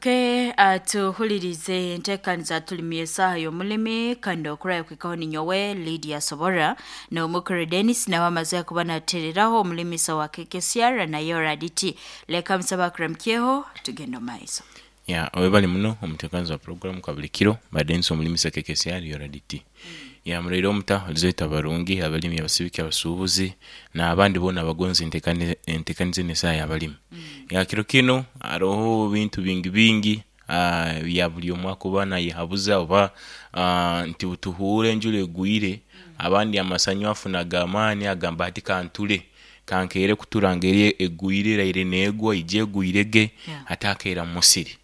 Tugaruke tuhulirize enteekaniza tulimi esaaha y'omulimi kandi okurayo kwikaho ninyowe Lydia Sobora n'omukuru Dennis nawe amaze kuba natereraho omulimisa wa KKCR naye Oraditi. Leka musaba akuramukyeho tugende omu maiso. Ya, webale muno omuteekaniza wa puroguramu ka buli kiro ba Denis omulimisa KKCR Yoraditi. Ya, muraire omuta olizoita abarungi, abalimi, abasibiki, abasuubuzi n'abandi boona abagonza enteekaniza enu esaaha y'abalimi. Ya, kiro kinu haroho ebintu bingi bingi bya buli omu akuba nayehabuza oba nti tuhuure enjura egwire, abandi amasanyu afuna ag'amaani agamba hati kanture, kankeere kutura ngeri egwire eraire negwa ije egwire ge ate akeera mu musiri.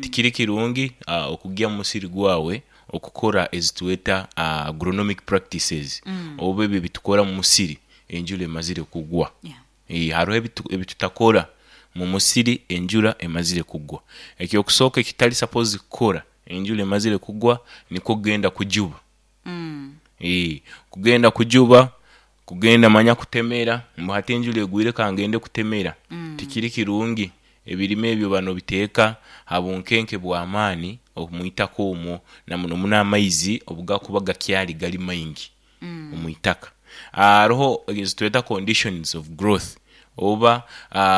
Tikiri kirungi okugya mu musiri gwawe okukora ezitweta agronomic practices oba ebyo ebitukora mu musiri enjura emazire kugwa. Haroho ebitutakora mu musiri enjura emazire kugwa. Eky'okusooka ekitutali sapozi kukora enjura emazire kugwa nikwo kugenda kujuba. Kugenda kujuba, kugenda manya kutemera mbu hati enjura egwire kangende kutemera, tikiri kirungi. Ebirime ebyo oba nobiteeka ha bunkenke bw'amaani omwitaka omwo na muno muno amaizi obugakuba gakyali gali maingi omwitaka. Haroho ezitweta conditions of growth oba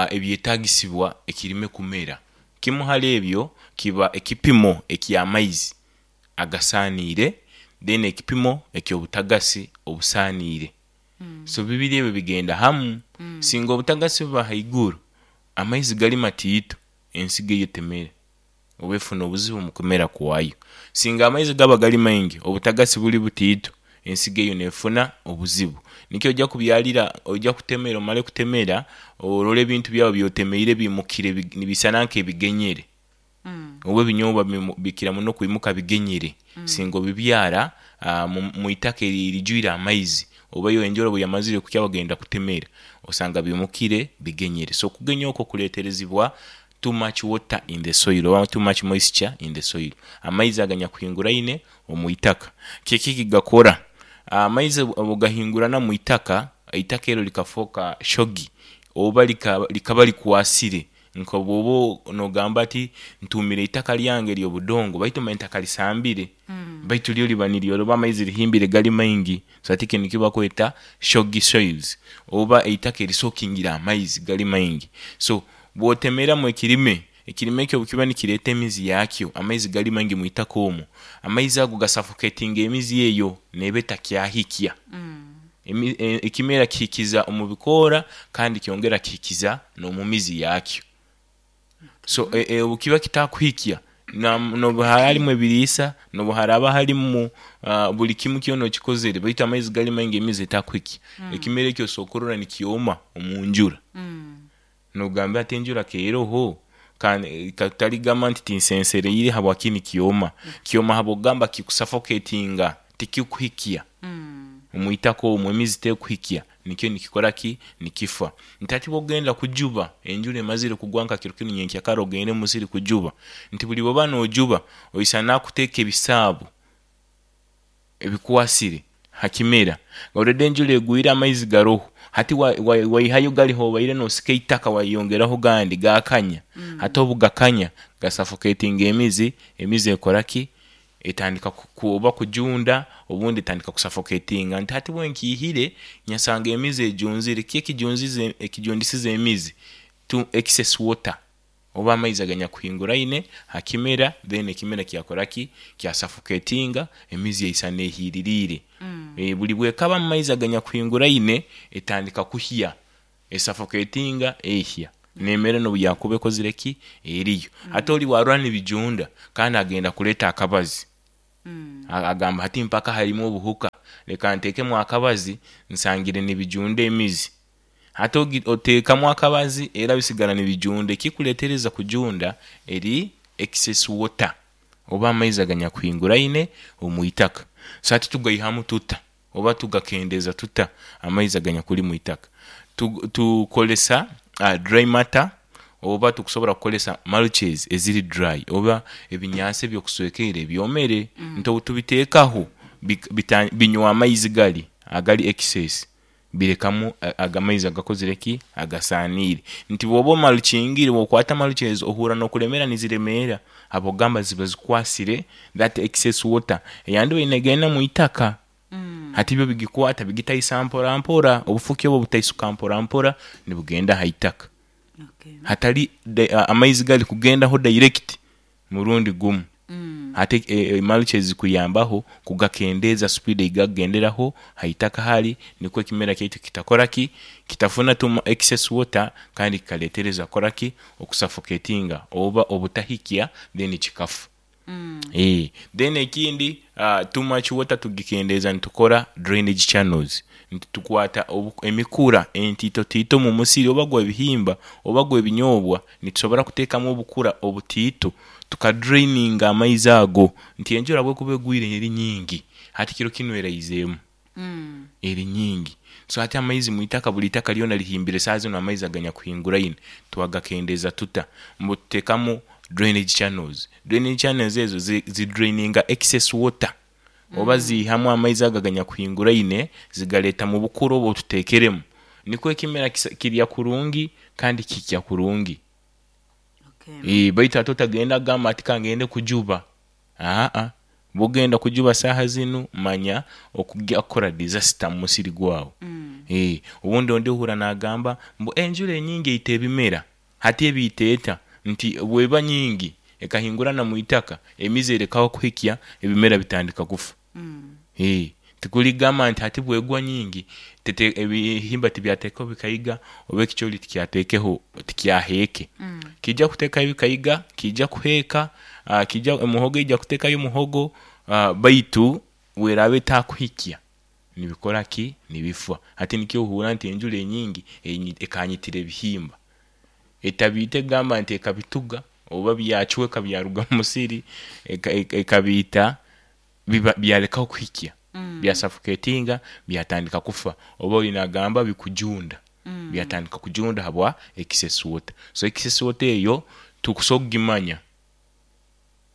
ebyetagisibwa ekirime kumera. Kimu hali ebyo kiba ekipimo eky'amaizi agasaaniire then ekipimo eky'obutagasi obusaaniire. So bibiri ebyo bigenda hamu. Singa obutagasi buba haiguru, amaizi gali matiito, ensigo eyo temera oba efuna obuzibu omu kumera kwayo. Singa amaizi gaba gali maingi, obutagasi buli butiito, ensigo eyo nefuna obuzibu. Nikyo oja kubyalira, oja kutemera omale kutemera, orole ebintu byawe byotemeire biimukire nibisana nk'ebigenyere. Oba ebinyobwa bikira muno kwimuka bigenyere singa obibyara mu itaka erijwire amaizi oba iwe enjura obuyamazire kukya wagenda kutemera osanga bimukire bigenyere. So okugenya okwo kuleterezibwa too much water in the soil oba too much moisture in the soil, amaizi aganyakuhinguraine omu itaka. Kiki ekigakora? Amaizi obugahingurana mu itaka, eitaka eryo likafoka shogi oba likaba likwasire. Nka bwoba nogamba ati ntuumire eitaka lyange ery'obudongo baitu manya ntakalisambire, baitu lyo liba niryoroba amaizi rihimbire gali maingi. So hati ekyo nikyo bakweta soggy soils oba eitaka erisokingire amaizi gali maingi. So bwotemeramu ekirime, ekirime ekyo obukiba nikireeta emizi yakyo, amaizi gali maingi mwitaka omwo, amaizi ago gasafoketinga emizi eyo neeba etakyahikya. Ekimera kihikiza omu bikoora kandi kyongera kihikiza n'omu mizi yakyo. So obukiba kitakuhikya n'obu haraba harimu ebiriisa, n'obu haraba harimu buli kimu kyona okikozere baitu amaizi gali maingi emizi etakuhikya, ekimera ekyo osobola kurora nikyoma omu njura. Nogamba ati enjura keroho kataligamba nti tinsensereire habwaki nikyoma. Kyoma habwokugamba kikusafoketinga tikikuhikya omwitaka omwo emizi tekuhikya nikyo nikikora ki? Nikifa. Nti hati bwokugenda kujuba enjura emazire kugwa nka kiro kinu nyenkyakara ogende omumusiri kujuba, nti buli bwoba nojuba oisana kuteeka ebisaabo ebikwasire ha kimera. Already enjura egwire amaizi garoho, hati waihayo gari hobaire nosika eitaka wayongeraho gandi gakanya, hati obugakanya gasafoketinga emizi, emizi ekora ki? Etandika oba kujunda obundi etandika kusafoketinga nti hati bwenkiihire nyasanga emizi ejunzire. Kiki ekijundisize emizi? To excess water oba amaizi aganyakuhinguraine ha kimera then ekimera kyakora ki? Kyasafoketinga emizi yaisana ehiiririire. Buli bwekaba mu maizi aganyakuhinguraine etandika kuhya, esafoketinga ehya nemera nobuyakuba ekozire ki? Eriyo. Hati ori bwarora nibijunda kandi agenda kureeta akabazi, agamba hati mpaka harimu obuhuka leka ntekemu akabazi nsangire nibijunda emizi. Hati oteekamu akabazi era bisigara nibijunda, ekikuleetereza kujunda eri excess water oba amaizi aganyakuhinguraine omwitaka. So hati tugaihamu tuta oba tugakendeeza tuta amaizi aganyakuli mwitaka? Tukozesa dry matter oba tukusobora kukozesa mulches eziri dry oba ebinyansi ebyokuswekeire ebyomere nti obutubiteekaho binywa amaizi gali agali excess. Birekamu aga amaizi agakozire ki? Agasaaniire. Nti bw'oba omarukingire, bw'okwata mulch ezi ohurra n'okulemeera niziremeera habw'okugamba ziba zikwasire that excess water eyandibaire negenda mwitaka, hati byo bigikwata bigitaisa mpora mpora, obufuki obu butaisuka mpora mpora nibugenda haitaka hatali amaizi gali kugendaho direct murundi gumu. Hati mulch ezi zikuyambaho kugakendeeza speed eyigakugenderaho haitaka hari nikwo ekimera kyaitu kitakora ki, kitafuna excess water kandi kikaleetereza kukora ki, okusuffocatinga oba obutahikya then kikafa. Then ekindi too much water tugikendeeza nitukora drainage channels, nti tukwata emikura entiito tiito mu musiri oba gw'ebihimba oba gw'ebinyoobwa, nitusobora kuteekamu obukura obutiito tukadraininga amaizi ago, nti enjura obu ekuba egwire eri nyingi, hati kiro kinu eraizeemu eri nyingi, so hati amaizi mwitaka buri itaka ryona rihimbire saaha zinu amaizi aganyakuhinguraine, twagakendeeza tuta? Mbu tuteekamu drainage channels, drainage channels ezo zidraininga excess water oba ziihamu amaizi ago aganyakuhinguraine zigaleeta mu bukura obu obututeekeremu nikwo ekimera kirya kurungi kandi kihikya kurungi. Baitu hati otagenda kugamba hati kangende kujuba, aa, obu okugenda kujuba saaha zinu manya okugya kukora disaster mu musiri gwawe. Obundi ondi ohurra naagamba ngu enjura enyingi eita ebimera, hati ebiita eta? Nti bweba nyingi ekahingurana mwitaka, emizi erekaho kuhikya, ebimera bitandika kufa. Tikuli kugamba nti hati bwegwa nyingi ebihimba tibyateekaho bikaiga oba ekicoori tikyateekeho tikyaheeke. Kiija kuteekaho ebikaiga, kiija kuheeka, muhogo eija kuteekayo muhogo, baitu bweraaba etaakuhikya nibikora ki? Nibifa. Hati nikyo ohurra nti enjura enyingi ekanyitira ebihimba, etabiite kugamba nti ekabituga oba byacweka byaruga mu musiri, ekabiita byalekaho kuhikya, byasuffocatinga byatandika kufa oba oli naagamba bikujunda, byatandika kujunda habwa excess water. So excess water eyo tukusobola kugimanya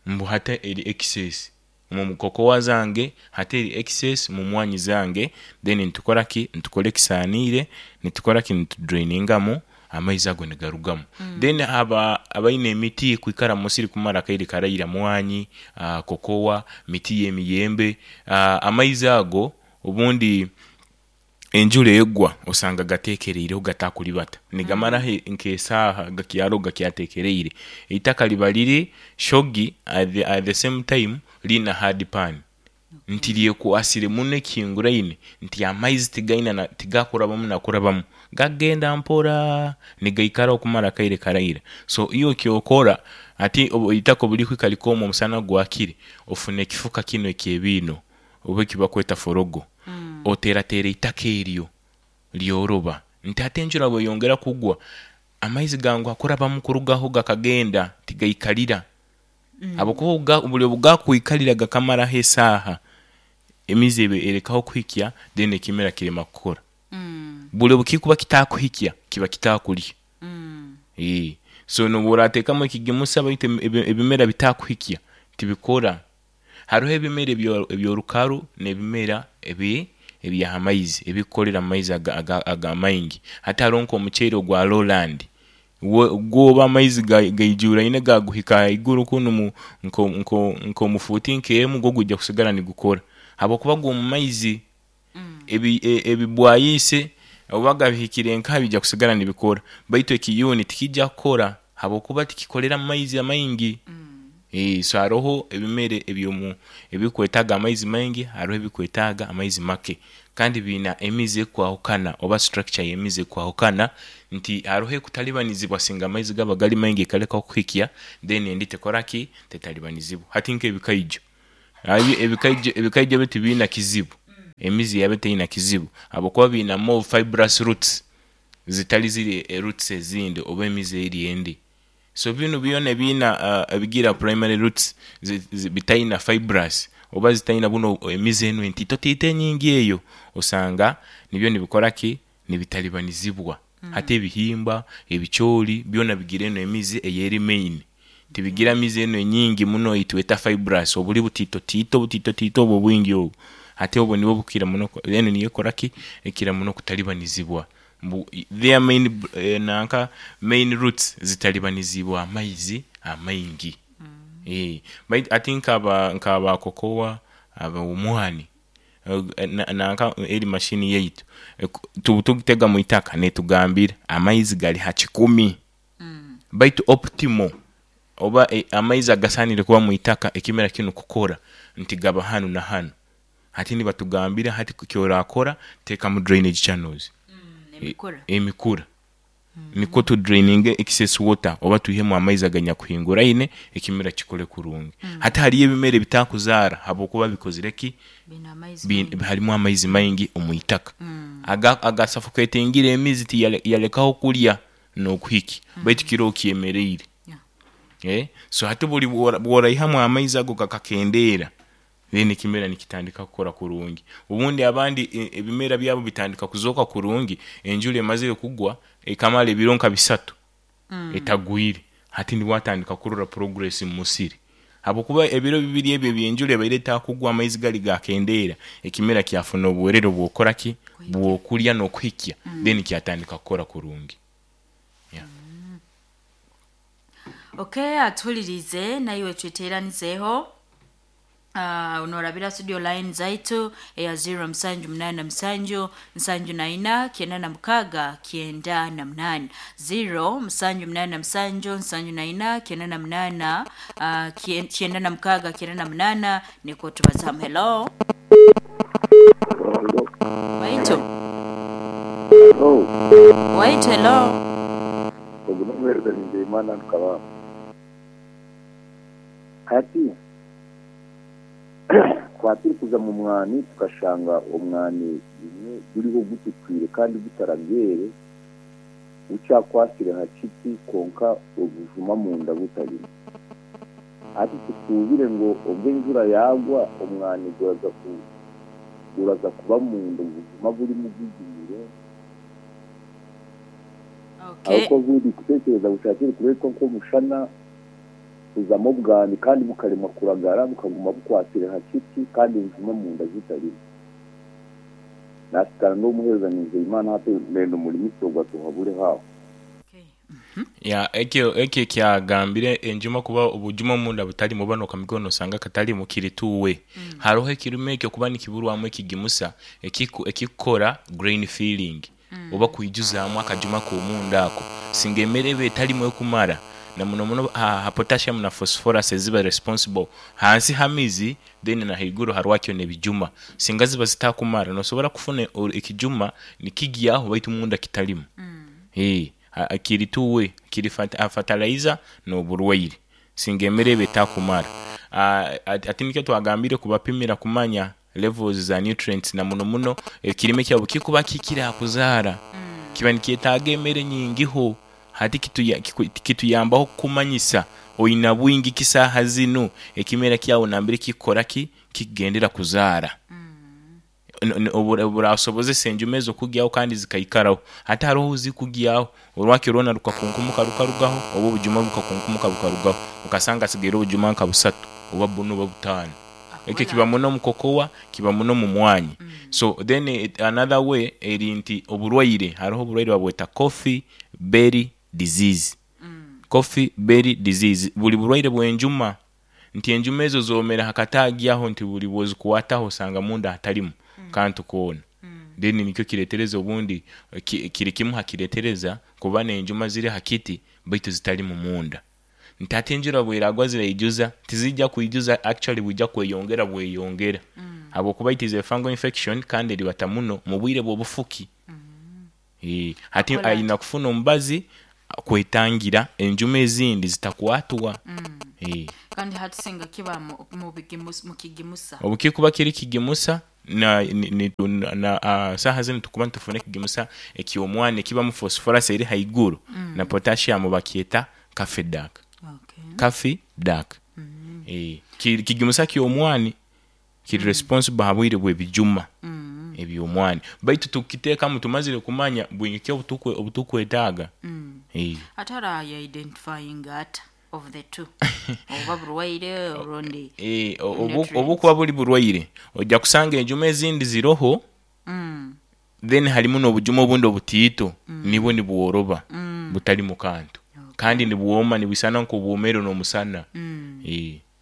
ngu hati eri excess omu cocoa zange, hati eri excess mu mwaani zange, then nitukora ki? Nitukora ekisaaniire, nitukora ki? Nitudrainingamu amaizi ago nigarugamu. Then abaine emiti kwikara mu musiri kumara akaire karaira mwaani, cocoa, miti y'emiyembe, amaizi ago obundi enjura egwa osanga gateekereireho gatakuribata, nigamaraho nk'esaaha gakyaroho gakyateekereire. Eitaka riba riri shogi at the same time riine hard pan, nti ryekwasire muno ekihinguraine nti amaizi tigaine tigakurabamu nakurabamu, gagenda mpora nigaikaraho kumara akaire karaira. So iwe ekyokora hati eitaka obu rikuhika rikooma omusana gwakire, ofuna ekifuka kinu eky'ebiino oba eki bakweta forogo, oteerateera eitaka eryo ryoroba, nti hati enjura bweyongera kugwa, amaizi ganguha kurabamu kurugaho gakagenda tigaikalira habwokuba buri obu gaakwikalira gakamaraho esaaha, emizi eba erekaho kuhikya then ekimera kirema kukora. Buri obu kikuba kitaakuhikya, kiba kitaakurya. So n'obu oraateekamu ekigimusa baitu ebimera bitaakuhikya, tibikora. Haroho ebimera eby'orukaru n'ebimera eby'aha maizi ebikukorera mu maizi aga maingi. Hati haroho nk'omuceeri ogwa lowland, gwo oba amaizi gaijuuraine gaaguhika haiguru kunu nk'omu fuuti nk'emu, gwo gwija kusigara nigukora habwokuba gwo omu maizi ebibwayiise oba gabihikire nkaha biija kusigara nibikora, baitu ekiyuuni tikiija kukora habwokuba tikikolera mu maizi amaingi. So haroho ebimera ebikwetaaga amaizi maingi, haroho ebikwetaaga amaizi make kandi biina emizi ekwahukana oba structure y'emizi ekwahukana nti haroho ekutalibanizibwa singa amaizi gaba gari maingi ekalekaho kuhikya then endi tekora ki? Tetalibanizibwa. Hati nk'ebikaijo, ebikaijo byo tibiina kizibu, emizi yabyo teina kizibu habwokuba biina more fibrous roots zitali ziri roots ezindi oba emizi eri endi. So binu byona ebiina ebigira primary roots bitaina fibrous oba zitaina bunu emizi enu entiitotiito enyingi eyo, osanga nibyo nibikora ki? Nibitalibanizibwa. Hati ebihimba, ebicoori byona bigira enu emizi eyeri main, tibigira mizi enu enyingi muno eyitweta fibrous, obuli butiitotiito butiitotiito obu obwingi obu. Hati obwo nibwo bukira muno eno niyo ekora ki ekira muno kutalibanizibwa. Mbu their main nanka main roots zitalibanizibwa amaizi amaingi. Baitu ati nk'aba kokowa, ab'omwani, nanka eri mashini yaitu tugitega mu itaka netugambira amaizi gali ha 100, baitu optimal oba amaizi agasaanire kuba mu itaka ekimera kinu kukora nti gaba hanu na hanu. Hati nibatugambira hati ekyoraakora teekamu drainage channels. Emikura. Emikura nikwo tu draininge excess water oba twihemu amaizi aganyakuhinguraine ekimera kikure kurungi. Hati hariyo ebimera ebitakuzaara habwokuba bikozire ki? Biine amaizi maingi. Harimu amaizi maingi omu itaka. Agasuffocatingire emizi tiyalekaho kulya n'okuhikya baitu kiroho kyemeriire. So hati buli bworaihamu amaizi ago gakakendeera, then ekimera nikitandika kukora kurungi. Obundi abandi ebimera byabo bitandika kuzooka kurungi enjura emazire kugwa ekamara ebiro nka 3 etagwire, hati nibwo atandika kurora progress mu musiri habwokuba ebiro 2 ebi eby'enjura ebaire etakugwa amaizi gali gakendeera, ekimera kyafuna obwerere obw'okukora ki? Bw'okulya n'okuhikya, then kyatandika kukora kurungi. Okay, atuhulirize naiwe tweteranizeeho norabira studio line zaitu eya 0787 74 96 98, 0787 74 98 96 98, nikwo tubazamu. Hello. Waitu. Hello. Waitu, hello. Ogu n'omuheereza Nizeyimana Rukabamba. Hati twaba turikuza mu mwani tukashanga omwani gumwe guriho gutukwire kandi gutarabwere, gukyakwasire ha kiti kwonka obujuma munda butarimu. Hati tusuubire ngu obwo enjura yaagwa omwani guraza kuba munda obujuma burimu bugumire. Ariko buri kutekereza bushakire kureetwa nk'omushana kuzamu obwani kandi bukaremwa kuragara bukaguma bukwasire ha kiti kandi obujuma munda zitarimu. Nasikara n'omuheereza Nizeyimana hati nenda omurimisa ogwo atuhabure haaho. Ya ekyo ekyagambire enjuma kuba obujuma omunda butalimu oba n'okamikono nosanga katalimu kiri tuwe. Haroho ekirime ekyo kuba nikiburwamu ekigimusa ekikukora grain filling oba kwijuzaamu akajuma k'omunda ako. Singa emere eba etalimu ekumara na muno muno ha potassium na phosphorus eziba responsible hansi h'amizi then na haiguru harwakyo n'ebijuma. Singa ziba zitakumara nosobora kufuna ekijuma nikigyaho baitu munda kitalimu. Kiri tuwe kiri fertilizer n'oburwaire singa emere eba etakumara. Ati nikyo twagambire kubapimira kumanya levels za nutrients na muno muno ekirime kyabo kikuba kikire ha kuzaara kiba nikyetaaga emere nyingiho. Hati kituyambaho kukumanyisa oina bwingi ki saaha zinu ekimera kyawe nambere kikukora ki kikugendera kuzaara. Oburasobozesa enjuma ezo kugyaho kandi zikaikaraho. Hati haroho zikugyaho orwakyo rwona rukakunkumuka rukarugaho oba obujuma bukakunkumuka bukarugaho okasanga hasigaire obujuma nka 3 oba 4 oba 5. Ekyo kiba muno mu kokowa, kiba muno mu mwanyi. So then another way eri nti oburwaire, haroho oburwaire babweta coffee berry disease. Coffee berry disease buli burwaire bw'enjuma nti enjuma ezo zoomera ha kataagi aho nti buli bwozikwataho osanga munda hatalimu kantu koona. Then nikyo kireetereza obundi kiri kimu ha kireetereza kuba n'enjuma ziri ha kiti baitu zitalimu munda. Nti hati enjura bweragwa ziraijuza, tizijja kwijuza, actually bwija kweyongera bweyongera. Habwokuba it is a fungal infection kandi eribata muno mu bwire bw'obufuki. Hati aina kufuna omubazi kwetangira enjuma ezindi zitakwatwa. Kandi hati singa kiba mu kigimusa. Obu kikuba kiri kigimusa na saaha zinu tukuba nitufuna ekigimusa eky'omwani ekibamu phosphorus eri haiguru na potassium bakyeta Cafedac. Cafedac. Kigimusa ky'omwani kiri responsible ha bwire bw'ebijuma eby'omwani. Baitu tukiteekamu tumazire kumanya bwingi ki obutukwetaaga. Ate ara identifying ata? Of the two, oba burwaire orundi? Obu Nutrients. Obukuba buli burwaire, ojja kusanga enjuma ezindi ziroho, then harimu n'obujuma obundi obutiito, nibwo nibworoba, butalimu kantu, kandi nibwoma, nibwisana nk'obwomere n'omusana.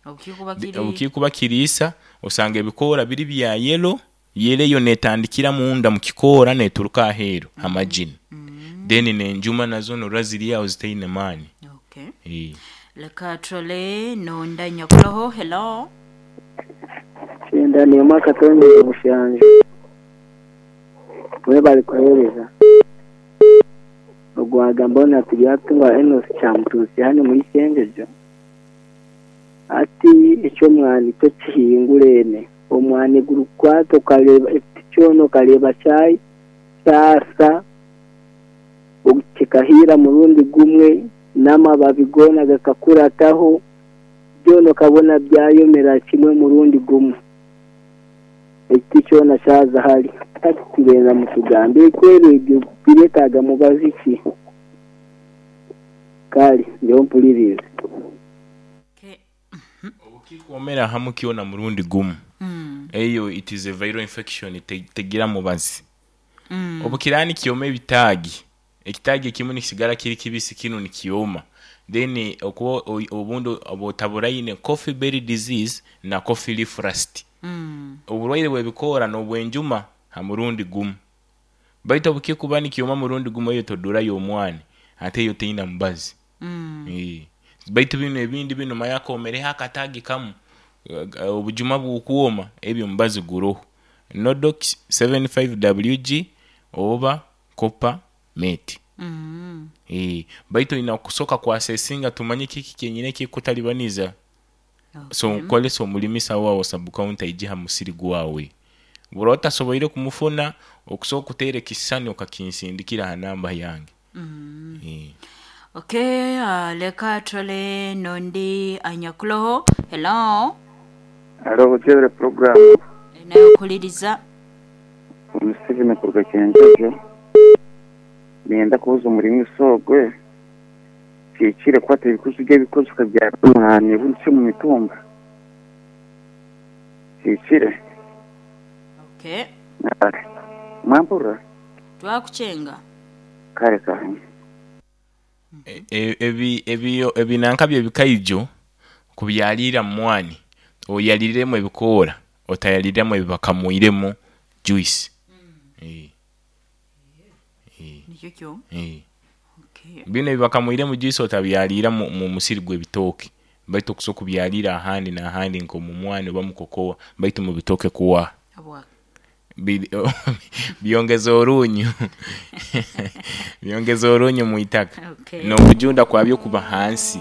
Obukikuba kiri Obukikuba kiriisa, osanga ebikoora biri bya yellow. Yellow eyo neetandikira munda mu kikoora neeturuka aheeru ha margin, then n'enjuma nazo norora ziri aho zitaine maani. Okay. Leka turole nonda nyakuroho. Hello. Kyenda n'emwe akatonyezi mushanju. Mwebale kuheereza. Ogwagamba ona Turyatunga Enos Kyamutuusi hanu muri Kyenjojo. Hati eky'omwani tokihingurene. Omwani gurikukwata okareeba ekiti kyona okareeba kyasa kikahiira murundi gumwe n'amababi goona gakakurataho, byona okabona byayomera kimwe murundi gumwe. Ekiti kyona kyaza hari. Hati turenza mutugambire kweri ebyo bireetaaga mubazi ki? Kare nyowe mpuririze. Okay. Obukikwomera hamu kyona murundi gumu, eyo it is a viral infection, tegira mubazi. Obukiraaba nikyoma ebitaagi, ekitaagi ekimu nikisigara kiri kibisi, kinu nikyoma, then okuba obundi oba otaburaine coffee berry disease na coffee leaf rust, oburwaire bw'ebikoora n'obw'enjuma ha murundi gumu. Baitu obukikuba nikyoma murundi gumu, eyo todurayo omwani, ate eyo teina mubazi. Baitu binu ebindi binu manya koomereho akataagi kamu, obujuma bukwoma, ebyo omubazi guroho, Nodox 75 WG oba Copper Mate. Baitu oina kusooka kwasesinga tumanye kiki kyenyini ekikukutalibaniza. So nkukolesa omulimisa waawe sub county aije ha musiri gwawe. Bw'oraba otasoboire kumufuna, okusobola kuteera ekisisani okakinsindikira ha namba yange. Okay, leka turole nondi anyakuroho. Hello. Haro Bukyebere program. Nawe kuhuliriza. Omuseveni kuruga Kyenjojo. Niyenda kubuza omurimisa ogwe, kihikire kukwata ebikuzi by'ebikozi okabyara omwani obundi si omu mitumba? Kihikire? Okay. Mwampurira? Twakuchenga. Kare kare. Ebinanka by'ebikaijo kubyalira mu mwani, oyaliriremu ebikoora, otayaliriramu ebibakamwiremu juice. Nikyo kyo. Okay. Binu ebibakamwiremu juice otabyalira mu musiri gw'ebitooke, baitu okusobola kubyalira ahandi n'ahandi nk'omu mwani oba mu kokowa, baitu mu bitooke kuwa. Habwaki? Byongeza orunyu, byongeza orunyu mu itaka, n'okujunda kwabyo kuba hansi.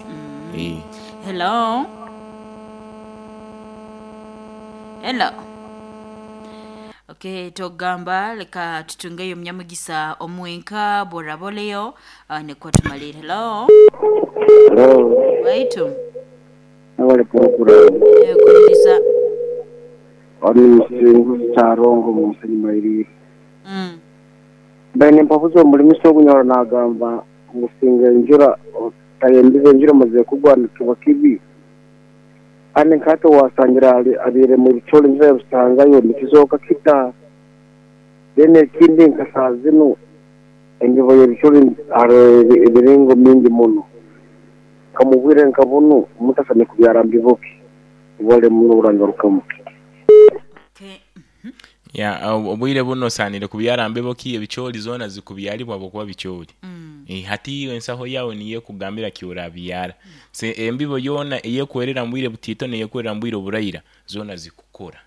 Hello. Hello. Okay, togamba leka tutungeyo omunyamugisa omwenka bworaboleyo, nikwo tumalire. Hello. Hello. Waitu. Mwebale program. Kuliriza. Oni Musinguzi Kyarongo mu Musenyi Mairire. Mbaire nimpabuza omurimisa ogunyora nagamba ngu singa enjura otayembize enjura emazire kugwa nikiba kibi. Kandi nkahati owasangira abiiremu ebicori enjura yabisangayo nikizooka kita? Then ekindi nka saaha zinu embibo y'ebicori hariho emiringo mingi muno. Nka mu bwire nka bunu omuntu asemeriire kubyara mbibo ki? Mwebale muno oburangarukamu. Okay. Ya, obwire bunu osaanire kubyara mbibo ki? Ebicoori zoona zikubyaribwa habwokuba bicoori. Hati iwe ensaho yawe niyo ekugambira kyorabyara. So embibo yoona eyekwerera mu bwire butiito n'eyekwerera mu bwire oburaira zoona zikukora,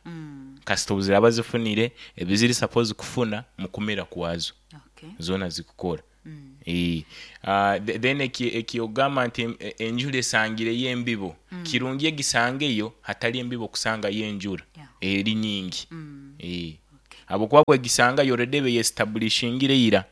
kasita obu ziraaba zifunire ebi ziri supposed kufuna mu kumera kwazo, zoona zikukora. Then ekyogamba nti enjura esangireyo embibo, kirungi egisangeyo hatali embibo kusangayo enjura eri nyingi, habwokuba bwegisangayo already eba eyestablishingire ira,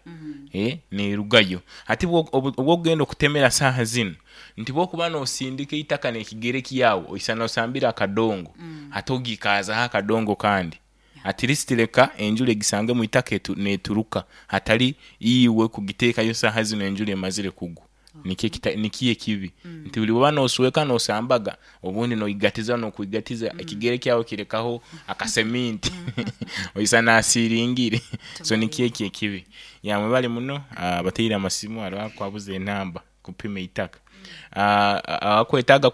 neerugayo. Hati obwokugenda okutemera saaha zinu, nti bwokuba noosindika eitaka n'ekigere kyawe, oisana osambire akadongo, hati ogiikaazaho akadongo kandi. At least leka enjura egisange mu itaka neeturuka, hatali iwe kugiteekayo saaha zinu enjura emazire kugwa. Nikyo nikiyo ekibi nti buli bwoba nosweka nosambaga, obundi noigatiza nokwigatiza ekigere kyawe kirekaho akaseminti, oisa nasiringire. So nikyo ekyo ekibi. Ya, mwebale muno abateire amasimu. Hariho akwabuza enamba kupima itaka. Akwetaaga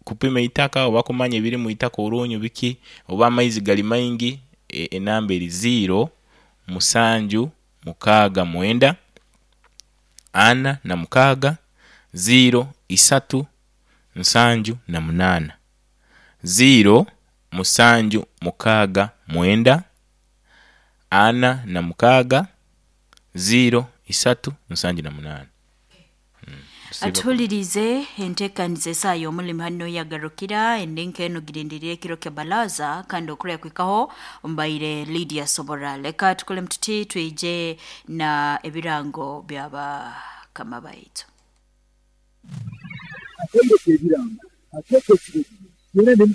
kupima itaka oba kumanya ebiri mu itaka, orunyu biki, oba amaizi gali maingi, enamba eri 0 7 6 9 46 0 3 78, 0 7 6 9 46 0 3 78. Atuhulirize entekaniza esaha y'omulimi hano yagarukira endinka enu girindiriire ekiro kya balaza, kandi okurya kwikaho mbaire Lydia Sobora. Leka tukole mututi twije na ebirango byabakama baitu. Akaire k'ebirango akeeka ekiro.